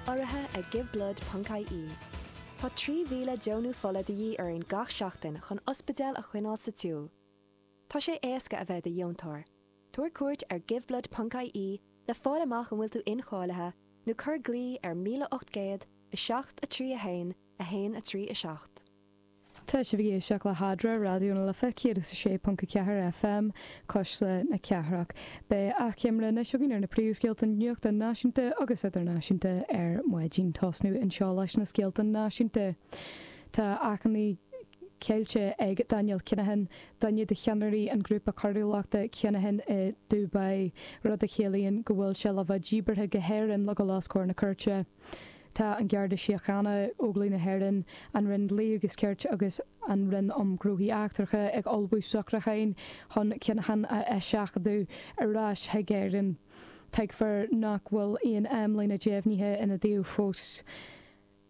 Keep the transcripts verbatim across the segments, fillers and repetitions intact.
Urraithe ag Giveblood ponc I E. Tá trí mhíle deonú fola de dhíth orainn gach seachtain chun ospidéal a choinneáil sa tsiúl. Tá sé éasca a bheith i do dheontóir. Tabhair cuairt ar giveblood ponc I E le fáil amach an bhfuil tú incháilithe nó cuir glao ar míle ocht gcéad a seacht a trí a haon a haon a trí a seacht. Tá sibh ag éisteacht le hAdra, Raidió na Life céad is a sé ponc a ceathair F M, Cuisle na Cathrach. Beidh achoimre anois againn ar na príomhscéalta nuachta náisiúnta agus idirnáisiúnta ar maidin. Tosnú anseo leis na scéalta náisiúnta. Tá achainí caillte ag Daniel Kinahan, duine de cheannairí an grúpa coiriúlachta Kinahan i Dubai, rud a chiallaíonn go bhfuil sé le bheith díbeartha go hÉirinn le dul os comhair na cúirte. Tá an Garda Síochána, Óglaigh na hÉireann, an Roinn Dlí agus Cirt agus an Roinn um Ghnóthaí Eachtracha ag ullmhú socrúcháin chun Kinahan a eiseachadadh ar ais chuig Éirinn. Tuigtear nach bhfuil aon amlíne deimhnithe ina dtaobh fós.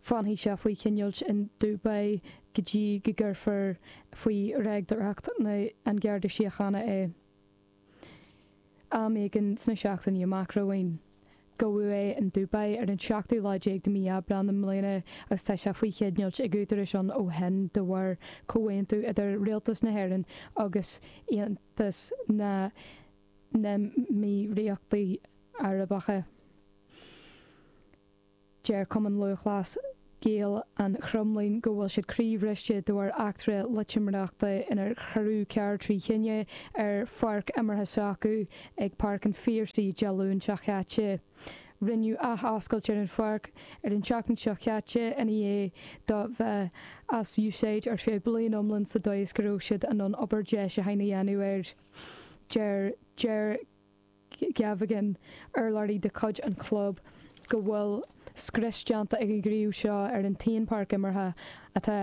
Fanfaidh sé faoi choinneáil in Dubai go dtí go gcuirfear faoi reachtaíocht an Gharda Síochána é. Am éigin sna seachtainí amach romhainn. Gabhadh é in Dubai ar an seachtú lá déag de mí Aibreán na mbliana agus tá sé faoi choinneáil ag údaráis ann ó shin de bharr comhaontú idir Rialtas na hÉireann agus Aontas na nÉimíríochtaí Arabacha. Deir Cumann Lúthchleas Gael an Chromghlinn go bhfuil siad croíbhriste de bharr eachtra loitiméireachta inar cuireadh carr trí thine ar pháirc imeartha s'acu ag Páirc an Phiarsaigh Dé Luain seo caite. Rinneadh athoscailt ar an pháirc ar an tseachtain seo caite ina dhiaidh do bheith as úsáid ar feadh bliain iomlán sa dóigh is go raibh siad in ann obair deisiúcháin a dhéanamh air. Deir Ger Gavigan, urlabhraí de chuid an chlub, go bhfuil scrios déanta ag an ghníomh seo ar an t-aon pháirc imeartha atá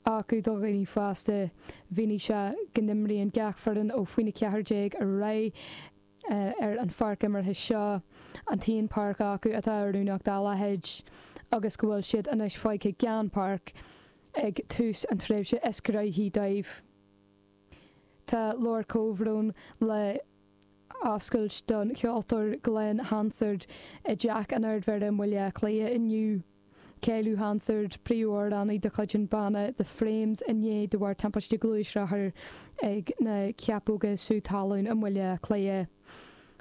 acu do dhaoine fásta. Mhínigh sé go n-imríonn gach foireann ó faoina ceathair déag ar aghaidh ar an pháirc imeartha seo, an t-aon pháirc acu atá oiriúnach dá leithéid, agus go bhfuil siad anois fágtha gan páirc ag tús an tréimhse is gnóthaí dóibh. Tá leabhar comhbhrón le oscailt don cheoltóir Glen Hansard i dTeach an Ardmhéara i mBaile Átha Cliath inniu. Cailleadh Hansard, príomhamhránaí de chuid an bhanna The Frames, inné de bharr timpiste gluaisrothair ag na Ceapóga Sú Talún i mBaile Átha Cliath.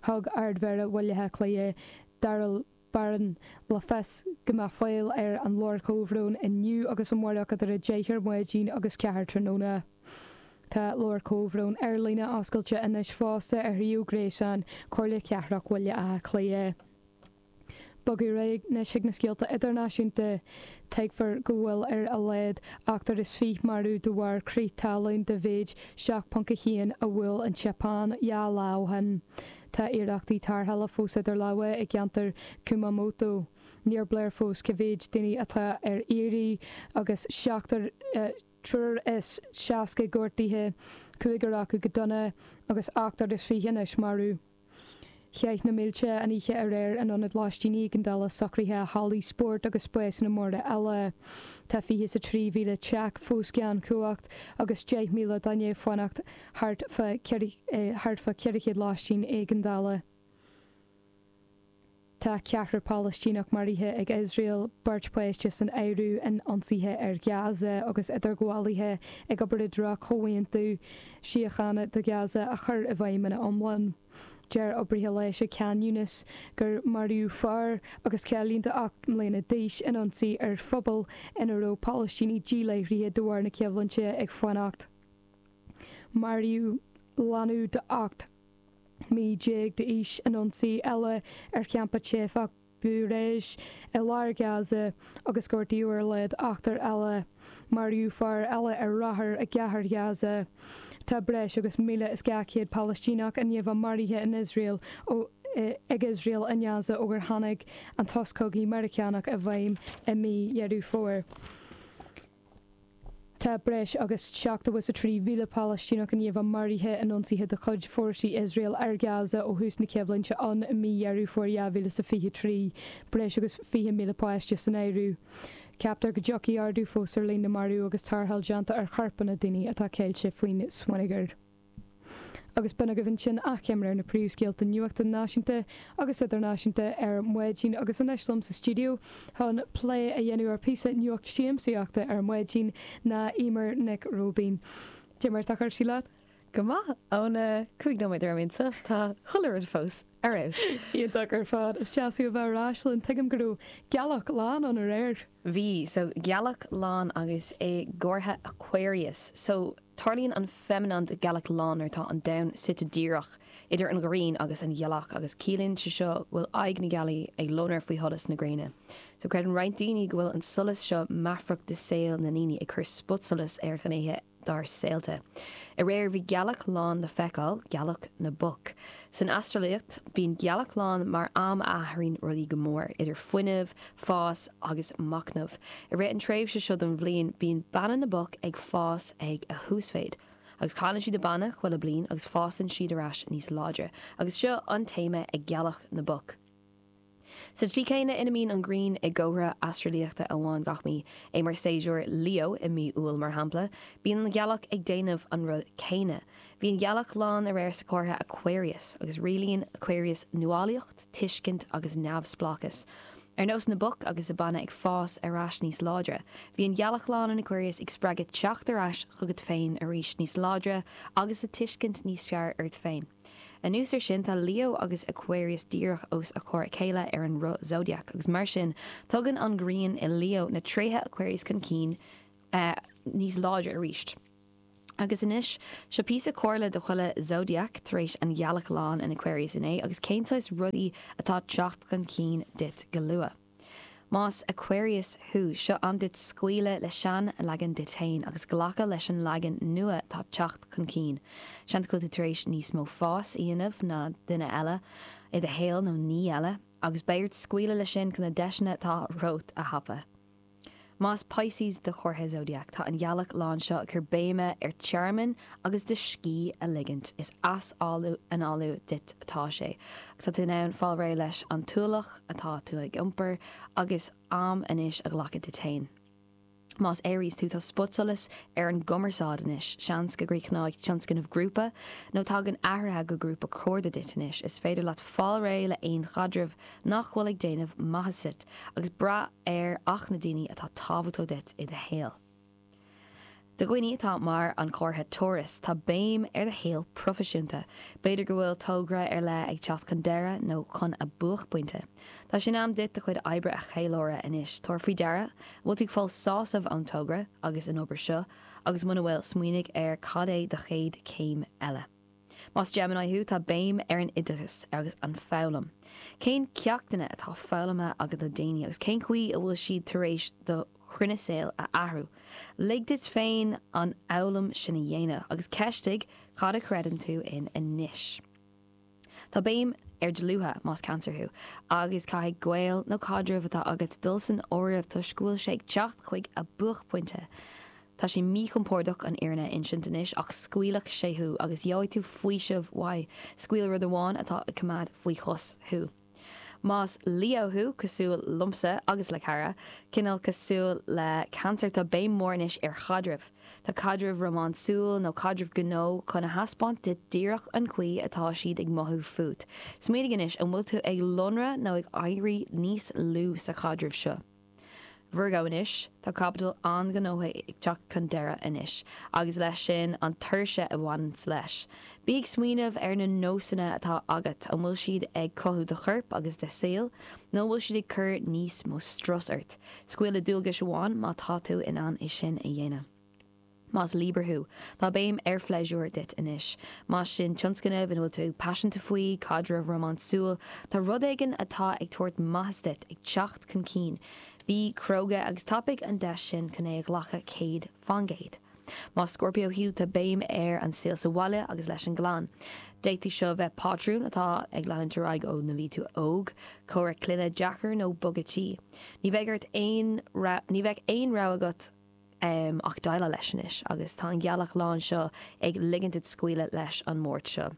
Thug Ardmhéara Bhaile Átha Cliath Daryl Barron le fios go mbeadh fáil ar an leabhar comhbhrón inniu agus amárach idir a deich ar maidin agus ceathair tráthnóna. Tá leabhar comhbhrón ar líne oscailte anois fosta ar shuíomh gréasáin Chomhairle Cathrach Bhaile Átha Cliath. Bogadh ar aghaidh anois chuig na scéalta idirnáisiúnta. Tuigtear go bhfuil ar a laghad ochtar is fiche marbh de bharr crith talún de mhéid seacht ponc a haon a bhuail an tSeapáin dhá lá ó shin. Tá iarrachtaí tarrthála fós idir lámha i gceantar Kumamoto. Níor léir fós cá mhéad daoine atá ar iarraidh agus seachtar triúr is seasca gortaithe, cúigear acu go dona agus ochtar is fiche anois marbh. Chaith na mílte an oíche aréir in ionad lóistín éigeandála, socruithe, hallaí spóirt agus spásanna móra eile. Tá fiche is a trí mhíle teach fós gan chumhacht agus deich míle duine ag fanacht thart fá thart fá ceithre chéad lóistín éigeandála. Tá ceathrar Palaistíneach maraithe ag Iosrael, beirt páiste san áireamh, in ionsaithe ar Ghaza agus idirghabhálaithe ag obair i dtreo comhaontú síochána do Ghaza a chur i bhfeidhm ina iomlán. Deir oibrithe leighis i Khan Younis gur maraíodh fear agus cailín de ocht mbliana d'aois in ionsaí ar phobal ina raibh Palaistínigh díláithrithe de bharr na coimhlinte ag fanacht. Maraíodh leanbh de ocht mí déag d'aois in ionsaí eile ar champa teifeach Bureij i lár Gaza agus gortaíodh ar a laghad ochtar eile. Maraíodh fear eile ar rothar i gcathair Ghaza. Tá breis agus míle is dhá chéad Palaistíneach i ndiaidh bheith maraithe in Iosrael ó ag Iosrael i nGaza ó gur tháinig an sos cogaidh Meiriceánach i bhfeidhm i mí Dheireadh Fómhair. Tá breis agus seachtó is a trí mhíle Palaistíneach i ndiaidh bheith maraithe in ionsaithe de chuid fórsaí Iosrael ar Gaza ó thús na coimhlinte ann i mí Dheireadh Fómhair dhá mhíle is fiche a trí, breis agus fiche míle páiste san áireamh. Ceaptar go dtiocfaidh ardú fós ar líon na marbh agus tarrtháil déanta ar chorpanna daoine atá ceilte faoin smionagar. Agus b'in agaibh ansin achoimre ar na príomhscéalta nuachta náisiúnta agus idirnáisiúnta ar maidin agus anois liom sa stiúideo chun plé a dhéanamh ar píosa nuacht siamsaíochta ar maidin ná Emer Nic Róibín. Cad é mar atá cúrsaí leat? Go maith óna cúig nóiméad ar minsa tá chuile rud fós ar fheabhas. Iontach ar fad is deas thú a bheith ar ais linn tuigim go raibh gealach lán ann aréir. Bhí so gealach lán agus é i gcomhartha Aquarius, so tarlaíonn an feiniméan de gealach lán nuair atá an domhan suite díreach idir an ghrian agus an ghealach agus ciallaíonn sé seo go bhfuil aghaidh na gealaí ag lonradh faoi sholas na gréine. So creideann roinnt daoine go bhfuil an solas seo meafarach de saol na ndaoine ag cur spotsolas ar ghnéithe dár saolta. Aréir bhí gealach lán le feiceáil gealach na bpoc. San astralaíocht bíonn gealach lán mar am a athraíonn rudaí go mór idir fuinneamh, fás agus machnamh. I rith an tréimhse seo den bhliain bíonn beanna na bpoc ag fás ag a huasmhéid. Agus cailleann siad a beanna chuile bliain agus fásann siad ar ais níos láidre, agus seo an téama ag gealach na bpoc. Sa tslí céanna ina mbíonn an ghrian i gcomhartha astralaíochta amháin gach mí, é mar séasúr Leo i mí Iúil mar shampla, bíonn an ghealach ag déanamh an rud céanna. Bhí an ghealach lán aréir sa chomhartha Aquarius, agus rialaíonn Aquarius nuálaíocht, tuiscint agus neamhspleáchas. Ar nós na bpoc agus a beanna ag fás ar ais níos láidre, bhí an ghealach lán in Aquarius ag spreagadh teacht ar ais chugat féin arís níos láidre agus a tuiscint níos fearr ort féin. Anuas ar sin tá Leo agus Aquarius díreach os a chomhair a chéile ar an roth Zodiac, agus mar sin tugann an ghrian i Leo na tréithe Aquarius chun cinn uh, níos láidre arís. Agus anois seo píosa comhairle do chuile Zodiac tar éis an ghealach lán in Aquarius inné agus cén saghas rudaí atá teacht chun cinn duit go luath. Más Aquarius thú seo am duit scaoileadh le sean leagan díot féin agus glacadh leis an leagan nua atá teacht chun cinn. Seans go bhfuil tú tar éis níos mó fás a dhéanamh ná duine eile i do shaol nó ní eile, agus beidh ort scaoileadh leis sin chun na deiseanna atá romhat a thapú. Más Pisces do chomhartha Zodiac tá an ghealach lán seo ag cur béime ar tearmann agus do scíth a ligint is as-análú duit atá sé. Agus tá tú in ann fáil réidh leis an t-ualach atá tú ag iompar agus am anois a ghlacadh duit féin. Más Aries tú tá spotsolas ar an gcumarsáid anois, seans go gcríochnóidh tionscnamh grúpa nó tagann athruithe go grúpa cairde duit anois, is féidir leat fáil réidh le aon chaidreamh nach bhfuil ag déanamh maitheas duit, agus brath ar ach na daoine atá tábhachtach duit i do shaol. Do dhaoine atá mar an comhartha Taurus tá béim ar do shaol proifisiúnta, B'fhéidir go bhfuil togra ar leith ag teacht chun deireadh nó chun a buaicphointe. Tá sin am duit do chuid oibre a cheiliúradh anois, tabhair faoi deara, bhfuil tú ag fáil sásamh ón togra agus an obair seo, agus muna bhfuil smaoinigh ar cad é do chéad céim eile. Más Gemini thú tá béim ar an oideachas agus an foghlaim. Cén ceachtanna atá foghlamtha agat le déanaí agus cén chaoi a bhfuil siad tar éis do chruinne saoil a athrú. Lig duit féin an fhoghlaim sin a dhéanamh agus ceistigh cad a chreideann tú in anois. Tá béim ar dlútha más Cancer thú, agus caithfidh gaol nó caidreamh atá agat dul san áireamh toisc go bhfuil sé ag teacht chuig a buaicphointe. Tá sé míchompordach an fhírinne a insint anois ach scaoilfidh sé thú agus gheobhaidh tú faoiseamh uaidh, scaoil rud amháin atá ag coimeád faoi chos thú. Más Leo thú cosúil liomsa agus le cara, cineál cosúil le Cancer tá béim mór anois ar chaidrimh. Tá caidreamh rómánsúil nó caidreamh gnó chun a thaispeáint duit díreach an chaoi atá siad ag mothú fút. Smaoinigh anois an bhfuil tú ag lonradh nó ag éirí níos lú sa chaidreamh seo. Virgo anois tá caibidil an-ghnóthach ag teacht chun deireadh anois, agus leis sin an tuirse a bhaineann leis. Bí ag smaoineamh ar na nósanna atá agat an bhfuil siad ag cothú do chorp agus do shaol, nó bhfuil siad ag cur níos mó strus ort. Scaoil le dualgas amháin má tá tú in ann é sin a dhéanamh. Más Libra thú, Tá béim ar phléisiúr duit anois. Más sin tionscnamh ina bhfuil tú paiseanta faoi, caidreamh rómánsúil, tá rud éigin atá ag tabhairt maitheas duit ag teacht chun cinn. Bí cróga agus tapaigh an deis sin chun é a ghlacadh céad faoin gcéad. Más Scorpio thú tá béim ar an saol sa bhaile agus leis an gclann. D'fhéadfadh seo bheith patrún atá ag leanúint ar aghaidh ó nuair a bhí tú óg, comhrá clainne deacair nó bogadh tí. Ní bheidh ort aon ní bheidh aon rogha agat um, ach déileáil leis anois agus tá an ghealach lán seo ag ligint duit scaoileadh leis an Máirt seo.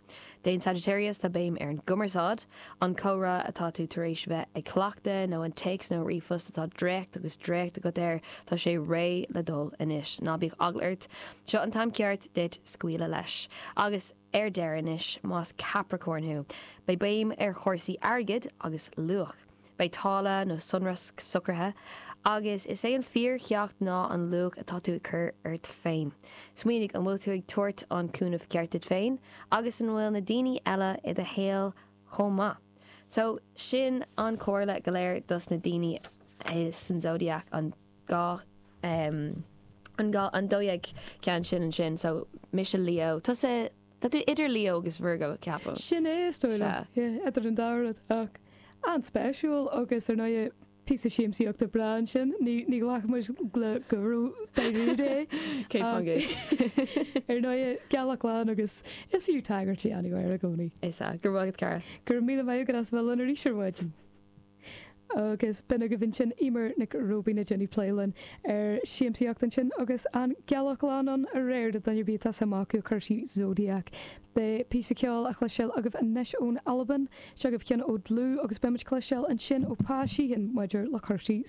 Don Sagittarius tá béim ar an gcumarsáid, an comhrá atá tú tar éis bheith ag cleachtadh nó an téacs nó ríomhphost atá dréacht agus dréacht agat air tá sé réidh le dul anois. Ná bíodh eagla ort, seo an t-am ceart duit scaoileadh leis. Agus ar deireadh anois más Capricorn thú, Beidh béim ar chúrsaí airgid agus luach. Beidh táille nó sonrasc socraithe, agus is é an fíorcheacht ná an luach atá tú ag cur ort féin. Smaoinigh an bhfuil tú ag tabhairt an cúnamh ceart duit féin, agus an bhfuil na daoine eile i do shaol chomh maith. So sin an chomhairle go léir dos na daoine san Zodiac an gá um, an gá an dó dhéag ceann sin ansin, so mise Leo tusa Tá tú idir Leo agus Virgo ceapaim. Sin é is dóigh liom. Yeah, idir an dá rud ach an-spéisiúil agus ar ndóigh píosa siamsaíochta breá ansin, ní ní ghlacfaidh muid le go dáiríre é. Cé fan Ar ndóigh gealach lán agus is fiú tagairt a dhéanamh air i gcónaí. Is ea, go raibh maith agat cara. Go raibh míle maith agat as bheith linn arís ar maidin. Agus b'in agaibh ansin Eimear Nic Róibín ag déanamh plé linn ar siamsaíocht ansin agus an gealach lán ann aréir do dhuine ar bith atá suim acu i gcúrsaí Zodiac. Beidh píosa ceoil á chloisteáil agaibh anois ón Albain, seo agaibh ceann ó Dlúth agus beimid ag cloisteáil ansin ó Pa Sheehan maidir le cúrsaí